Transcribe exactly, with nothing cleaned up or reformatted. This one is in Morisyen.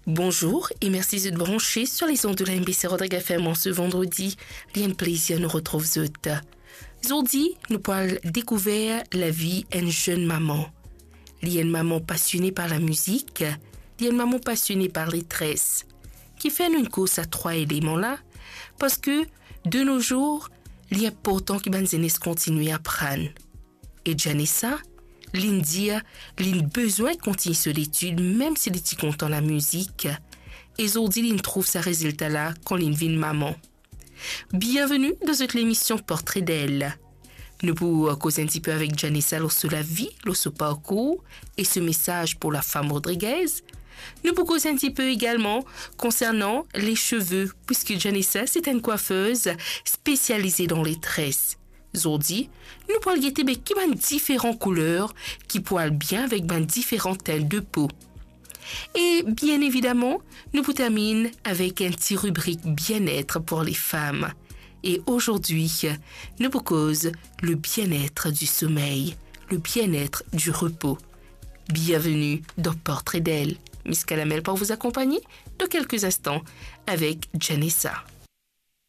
Bonzour e mersi zot branche sur les ondes de la M B C Rodrigues F M an se vandredi. Li enn plezir nou retrouv zot. Zordi, nou pou al dekouver lavi enn zenn mama. Li enn mama pasione par lamizik, li enn mama pasione par letres. Kifer nou inn koz sa trwa eleman la? Parski, de nos jours, li inportan ki bann zenes kontigne aprann. E Janessa, li'nn dir, li'nn bizin kontigne so letid, mem si li ti kontan lamizik. E zordi, li'nn trouv sa rezilta la kan li'nn vinn mama. Bienveni dan zot lemision Portre d'elle. Nou pou koz enn tipe avek Janessa lor so lavi, lor so parkour e so mesaz pou lafam rodrigez. Nou pou koz enn tipe egalman konsernan leseve, puiski Janessa se enn kwafez spesialize dan letres. Zordi, nou pou al gete be ki bann diferan kouler ki pou al bien avek bann diferan tin de po. E bien evidaman, nou pou terminn avek enn ti ribrik bien-être pour les femmes. E azordi, nou pou koz le bien-être du sommeil, le bien-être du repos. Bienveni dan Portre d'elle. Miss Kalamel pou zot akonpagne dan kelke instan avek Janessa.